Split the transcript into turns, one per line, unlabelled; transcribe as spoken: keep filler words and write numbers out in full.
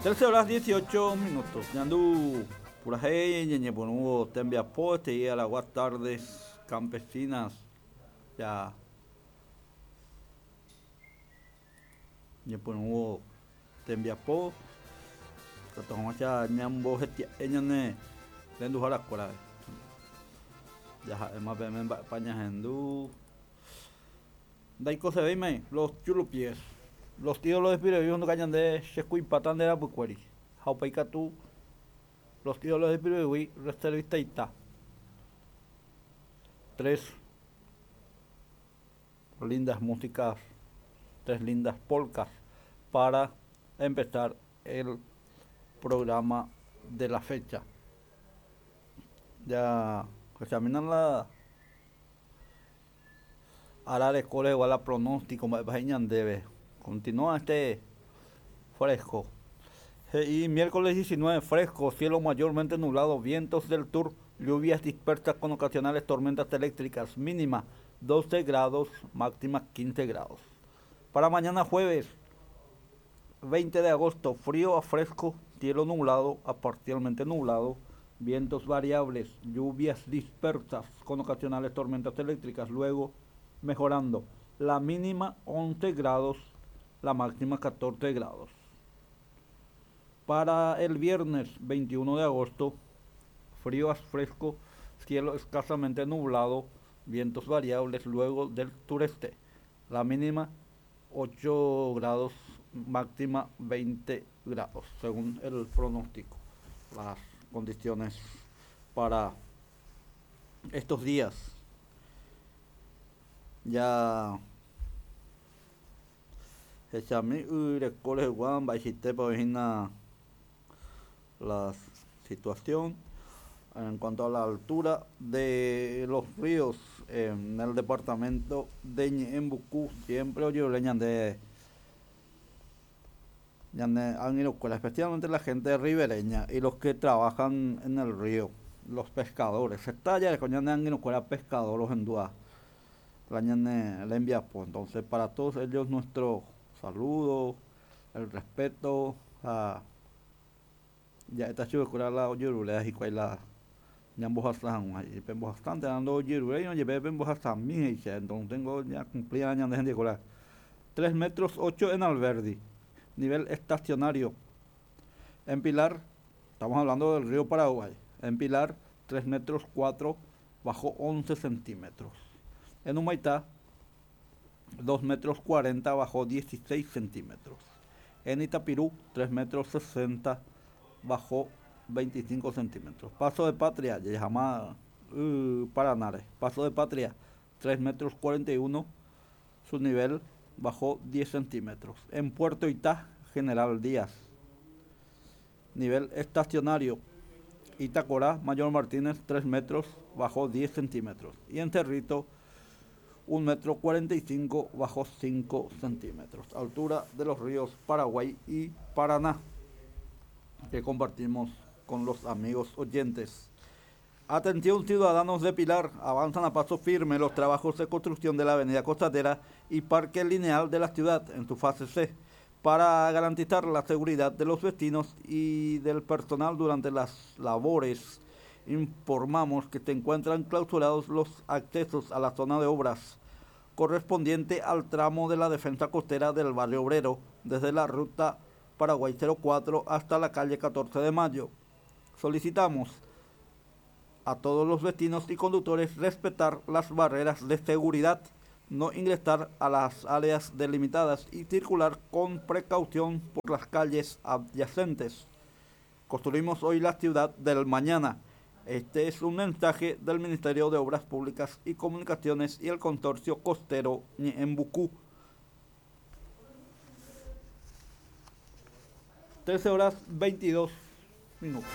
Trece horas dieciocho minutos. Ñandu purahéi ñañepyrũvo tembiapo este Aragua Tardes Campesinas. Ya ñepyrũvo tembiapo tatohag̃uáicha ñambohetia'e ñane renduharakuéra. Jaha'éma peẽme mba'épa ñahendu. Ndaikosevéima los chulupies. Los tíos los de ndoka ñande chekuipáta nde rapykuéri. Ha upéi katu los tíos los de Pirivigui reservistaita. Tres lindas músicas, tres lindas polcas para empezar el programa de la fecha. Ya examinan la arareko rehegua la pronóstico mba'épa he'i ñandéve. Continúa este fresco. Y miércoles diecinueve, fresco, cielo mayormente nublado, vientos del sur, lluvias dispersas con ocasionales tormentas eléctricas, mínima doce grados, máxima quince grados. Para mañana jueves veinte de agosto, frío a fresco, cielo nublado a parcialmente nublado, vientos variables, lluvias dispersas con ocasionales tormentas eléctricas, luego mejorando. La mínima once grados, la máxima catorce grados. Para el viernes veintiuno de agosto, frío a fresco, cielo escasamente nublado, vientos variables luego del sureste. La mínima ocho grados, máxima veinte grados, según el pronóstico. Las condiciones para estos días. Ya hechami yreko rehegua mba'eichaitépa oĩhína la situación en cuanto a la altura de los ríos en el departamento de Ñe'ẽmbuku. Siempre ojerure ñande ñane angirũkuéra, especialmente la gente ribereña y los que trabajan en el río, los pescadores. Heta jareko ñane angirũkuéra pescador ohendúva la ñane rembiapo. Entonces, para todos ellos nuestro saludo, el respeto, ha ja'éta chupekuéra la ojeruréva hikuái la ñambohasa hag̃ua he'i pembohasánte ndojeruréirõ jepe pembohasami he'iche. Entonces tengo ya cumplida ñande hentekuéra. Tres metros ocho en Alberdi, nivel estacionario. En Pilar, estamos hablando del río Paraguay, en Pilar tres metros cuatro, bajó once centímetros. En Humaitá, dos metros cuarenta, bajó dieciséis centímetros. En Itapirú, tres metros sesenta, bajó veinticinco centímetros. Paso de Patria, ya llama, uh, Paranare. Paso de Patria, tres metros cuarenta y uno, su nivel bajó diez centímetros. En Puerto Itá, General Díaz, nivel estacionario. Itacorá, Mayor Martínez, tres metros, bajó diez centímetros. Y en Cerrito, un metro cuarenta y cinco, bajó cinco centímetros. Altura de los ríos Paraguay y Paraná, que compartimos con los amigos oyentes. Atención, ciudadanos de Pilar, avanzan a paso firme los trabajos de construcción de la avenida Costanera y Parque Lineal de la ciudad en su fase C, para garantizar la seguridad de los vecinos y del personal durante las labores. Informamos que se encuentran clausurados los accesos a la zona de obras correspondiente al tramo de la defensa costera del barrio obrero, desde la ruta Paraguay cero cuatro hasta la calle catorce de Mayo. Solicitamos a todos los vecinos y conductores respetar las barreras de seguridad, no ingresar a las áreas delimitadas y circular con precaución por las calles adyacentes. Construimos hoy la ciudad del mañana. Este es un mensaje del Ministerio de Obras Públicas y Comunicaciones y el Consorcio Costero Ñe'ẽmbuku. trece horas veintidós minutos.